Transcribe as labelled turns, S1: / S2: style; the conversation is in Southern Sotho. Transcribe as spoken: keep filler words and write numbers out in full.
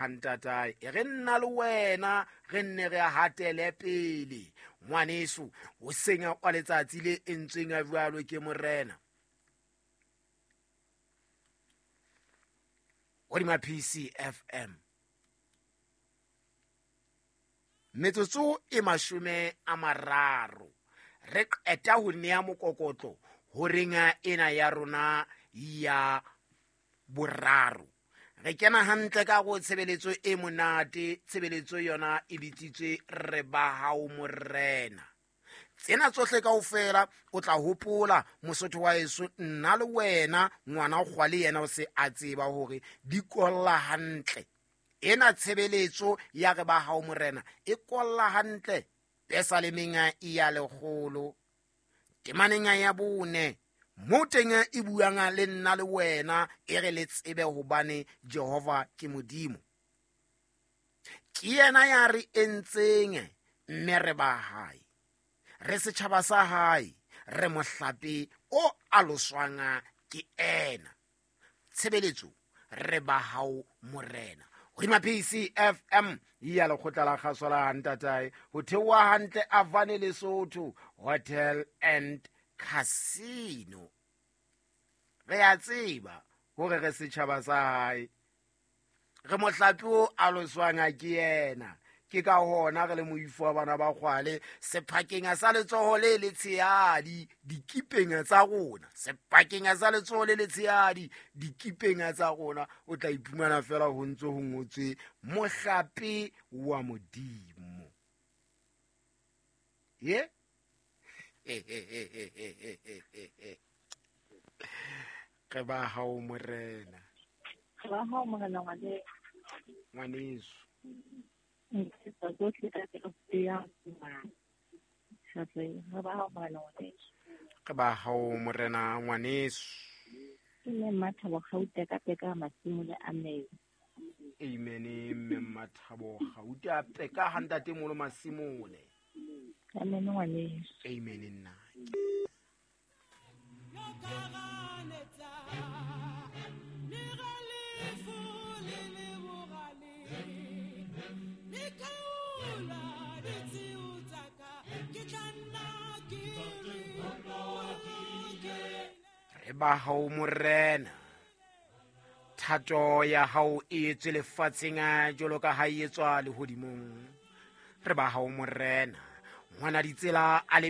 S1: Ntatae e re nna le wena re nne re hatele pele ngwaneso o senya kwa letsatsi le entsweng a jwalo ke morena hodima P C F M metsotso e mashome a mararo re qeta ho nea mokokotlo horeng ena ya rona ya boraro. Re kena hantle ka go tshebeletso e monate, tshebeletso yona e bitsitswe re ba hao morena. Tsena tsohle kaofela o tla hopola mosotho wa heso nna le wena ngwana kgwale yena o se a tseba hore di kolla hantle. Ena tshebeletso ya re ba hao morena e kolla hantle pesalemeng ya lekgolo temaneng ya bone mo teng e buang le nna le wena e re le tsebe hobane Jehova ke Modimo. Ke yena ya re entseng mme re ba hae, re setjhaba sa hae, re mohlape o aloswang ke ena. Tshebeletso re ba hao morena hodima P C F M ya lekgotla la kgaso la ntatae ho theoha hantle Avane Lesotho Hotel and Casino. Re a tseba hore re setjhaba sa hae, re mohlape o aloswang ke yena. Ke ka hona re le moifo wa bana ba kgwale sephakeng sa letsoho le letshehadi dikipeng tsa rona, sephakeng sa letsoho le letshehadi dikipeng tsa rona o tla iphumana fela ho ntse ho ngotswe mohlape wa Modimo. Ye re ba hao morena,
S2: re ba hao morena ngwaneso.
S1: Re ba hao morena ngwaneso.
S2: Ke mme Mmathabo Gauta ka peka Masimole amen.
S1: Amen. Mme Mmathabo Gauta peka ha ntate molo Masimole.
S2: Amen ngwaneso.
S1: Amen nna. Re ba hao morena, thato ya hao e etswe lefatsheng jwalo ka ha e etswa lehodimong. Re ba hao morena, ngwana ditsela a le